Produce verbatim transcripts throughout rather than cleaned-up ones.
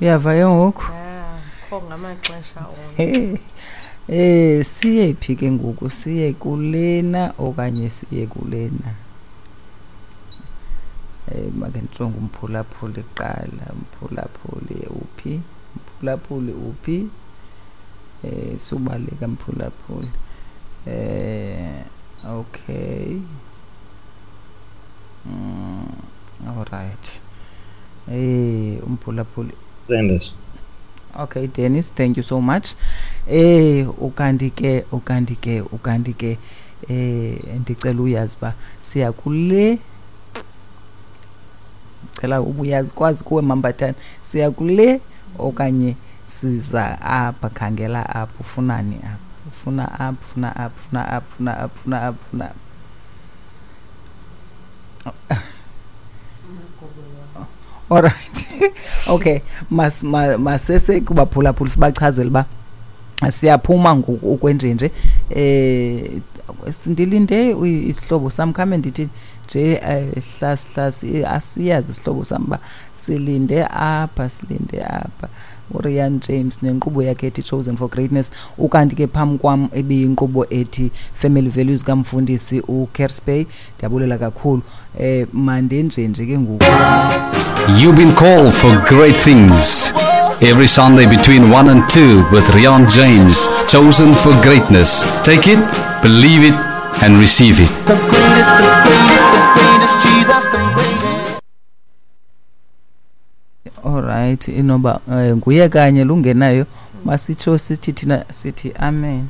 Uyava ke ngoku? Ah, kho ngamaxesha onke. Eh siye phi ke ngoku? Siye kulena okanye siye kulena? Eh make ndijonge umphulaphuli kuqala. Umphulaphuli uphi? Umphulaphuli uphi? Eh subaleka mphulaphuli. Eh okay. Mm, all right. Eh umphulaphuli Dennis. Okay Dennis, thank you so much. Eh ukanti ke ukanti ke ukanti ke eh ndicela uyazi ba siya kule, cela ubuyazi kwazi kuwe Mambathane, siya kule okanye siza apha. Khangela apha, ufunani apha? Ufuna apha, ufuna apha, ufuna apha, ufuna apha, ufuna apha, ufuna apha. All right. Okay, mas masese kubaphulaphula sibachazele ba siyaphuma ngoku ukwenjenje. Eh ndilinde isihlobo sam khame ndithi nje hlas hlas asiyazi isihlobo sam ba silinde apha, silinde apha. uRian James nenkqubo yakhe ethi Chosen for Greatness. Ukanti ke phambi kwam ebiyinkqubo ethi Family Values kamfundisi uKerspey. Ndiyabulela kakhulu. Eh mandenje nje ke ngoku. You've been called for great things. Every Sunday between one and two with Rian James, Chosen for Greatness. Take it, believe it, and receive it. The greatest, the greatest, the greatest, Jesus, the greatest. All right, inoba nguye kanye lungenayo. Masitsho sithi thina sithi amen.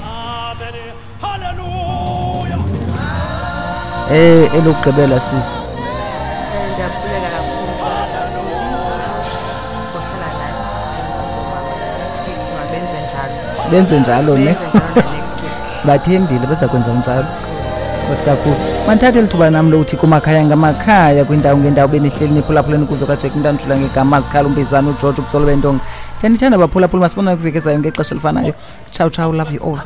Amen. Hallelujah. Eh elokugqibela sisi. Ndiyabulela kakhulu. Kuhlala nathi. Mabenze njalo. Benze njalo ne. Next week. Bathembile bazakwenza njalo. Kakhulu. Mandithathe lithuba nam lokuthi kumakhaya ngamakhaya kwindawo ngendawo benihleli niphulaphuleni kuzo kaJack Mntanjula ngegama zikhala umbizana uGeorge ubutsolo bentonga. Ndiyanithanda baphulaphula, masibonane kwiveki ezayo ngexesha elifanayo. Ciao ciao, love you all.